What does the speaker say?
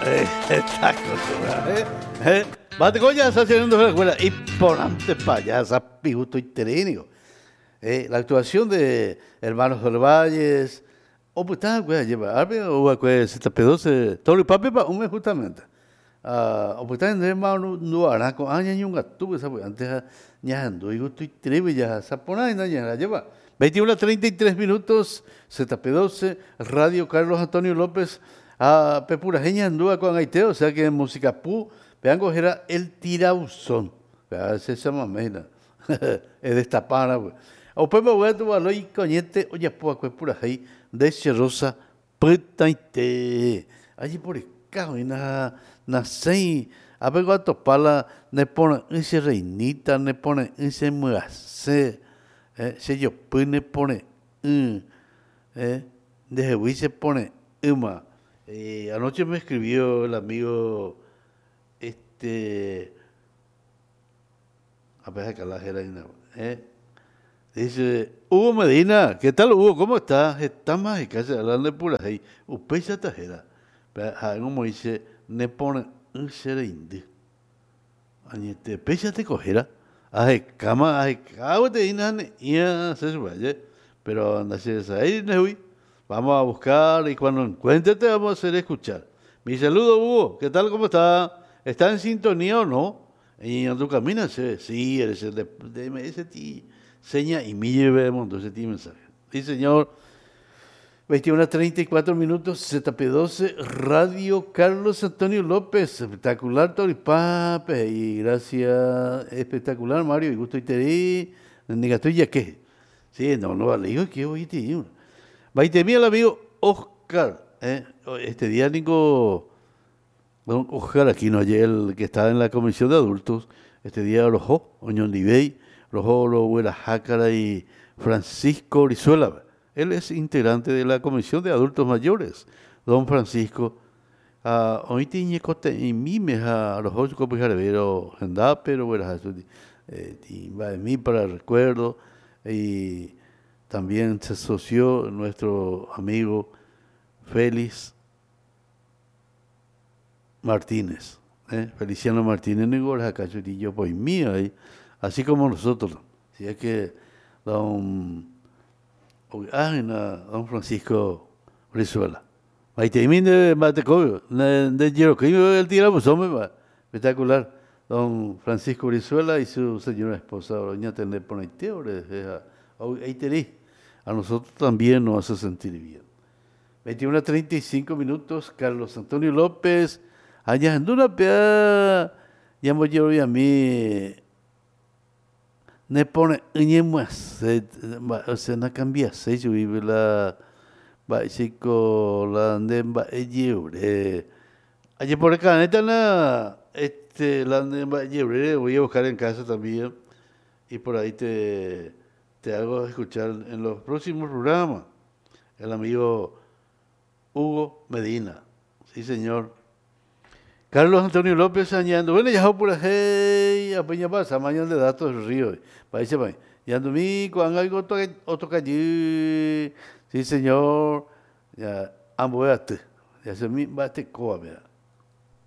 Está acostumbrado, ¿eh? ¿Eh? Bate coña, esa la escuela. Y por antes payasa, pigusto y terénico. La actuación de Hermanos del Valles, o pues está, güey, lleva, arbe, o güey, ZP12, todo el papi pa, un mes justamente. Ah, o pues está en hermano, no hará con año y un gato, pues, antes ya ando, y gusto y trebe, ya, sapona y no, ya la lleva. 21 a 33 minutos, ZP12, Radio Carlos Antonio López, a Pepurajeña andúa con Aiteo, o sea que en Música Pu, vean coger el tirauzón. Se llama mena. Es destapara, pues. O pues me voy a tomar y coñete, oye, pues, pura ahí, de Rosa, petaite. Allí por el cajo, y na, na sei, a ver cuánto pala, ne pone ese reinita, ne pone ese muase, se yo ne pone, de se pone, uma. Anoche me escribió el amigo, a ver, acá la Dice, Hugo Medina, ¿qué tal Hugo? ¿Cómo está? Está más en casa, hablando de pura ahí. Usted tajera. Pero, como dice, ne pone un serende. Añete, pecha te cogera. Aje, cama, aje, cabo te inane, ya se subaye. Pero anda, se ahí, ne Vamos a buscar y cuando encuentre te vamos a hacer escuchar. Mi saludo, Hugo. ¿Qué tal? ¿Cómo está? ¿Está en sintonía o no? Y en tu camino, sí, eres el de ese ti. Seña y mi lleve ese ti mensaje. Sí, señor. 21:34 minutos, ZP12, Radio Carlos Antonio López, espectacular Toripape, y gracias, espectacular Mario, y gusto y te di, ya que. Sí, no, no, vale, digo que hoy te digo. Vaite el amigo Oscar, este día Nico, don Oscar Aquino, ayer el que está en la comisión de adultos, este día Rojo, Oñón Libey, Rojo, Lo Jácara y Francisco Brizuela. Él es integrante de la Comisión de Adultos Mayores, don Francisco. Hoy tiene cote y mime a los ocho pero pero va de mí para el recuerdo. Y también se asoció nuestro amigo Félix Martínez, Feliciano Martínez, yo pues mío ahí, así como nosotros. Si es que don Francisco Brizuela. Espectacular. Don Francisco Brizuela y su señora esposa, doña Tené Ponaiteo, a nosotros también nos hace sentir bien. 21:35 minutos, Carlos Antonio López, allá pea, ya me llevo a mí, ne pone, o sea, no cambia, se vive la, va, chico, la de va, llebre. Allí por acá, neta, la, la de va, llebre, voy a buscar en casa también, y por ahí te hago escuchar en los próximos programas, el amigo Hugo Medina. Sí, señor. Carlos Antonio López añadiendo, bueno, ya por ahí, a Peña pasa, mañana de datos del río. País, país. Ya ando mi, cuando algo otro calle. Sí, señor. Ya, ambos ya se mi, va este coa, mira.